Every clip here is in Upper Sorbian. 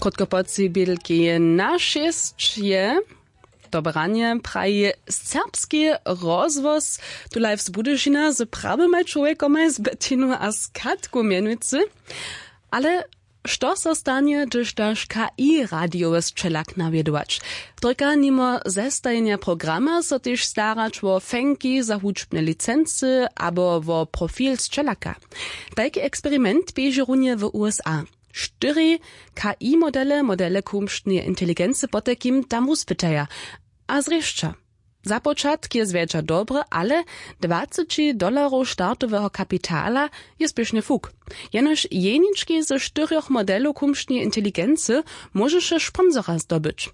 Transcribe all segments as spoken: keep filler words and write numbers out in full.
Krótko po tři bědlki na šěsć je to branje praji serbski rozhłos. Tu live z Budyšina z prawymaj čłowjekomaj, z Bettinu a z Katku mjenujcy. Ale što so stanje, hdyž daš K I radijowy sćelak nawjedować? Trojka nimo zestajenja programa so tež starać wo fenki za hudźbne licency abo wo profil sćelaka. Tajki eksperiment běži runje w U S A. Štyri K I modele, modele kumštneje inteligency potajkim tam wuspytaja. A zrěšća. Započatk je zwjetša dobry, ale dwaceći dolarow startoweho kapitala je spěšnje fuk. Jenož jenički ze štyrjoch modelow kumštneje inteligency móžeše sponsora zdobyć.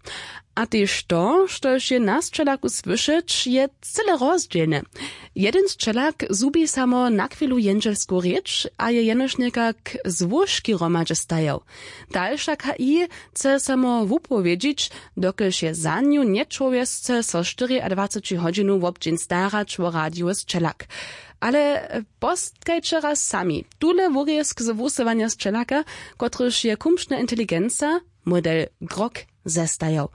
A tež to, štož je na sćelaku słyšeć, je cyle rozdźělne. Jedyn sćelak zhubi samo na chwilu jendźelsku rěč a je jenož někak złóžki hromadźe stajał. Dalša K I chce samo wupowědźić, dokelž je za nju nječłowjesce so štyriadwaceći hodźinow wobdźeń starać wo radijowy sćelak. Ale postkajće raz sami tule wurězk z wusyłanja sćelaka, kotryž je kumštna inteligenca, model Grok, zestajał.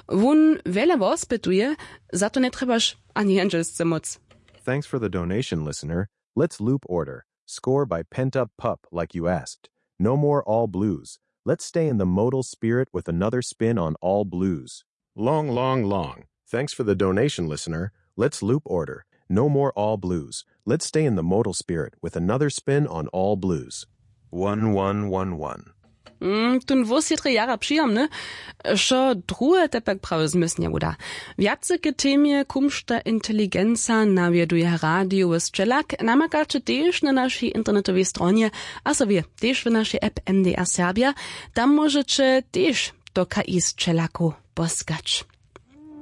Wón wjele wospytuje, za to njetrjebaš ani jendźelsce móc. Thanks for the donation, listener. Let's loop order. Score by Pent Up Pup, like you asked. No more all blues. Let's stay in the modal spirit with another spin on all blues. Long, long, long. Thanks for the donation, listener. Let's loop order. No more all blues. Let's stay in the modal spirit with another spin on all blues. One, one, one, one. Mm, tón włos je drje jara přijomny. Wšo druhe te pak prawy zmysł njewuda. Wjace k temje kumšta inteligenca nawjeduje radijowy sćelak namakaće tež na našej internetowej stronje, a so wě, tež w našej app M D R Serbia. Tam móžeće tež do K I sćelakow poskać.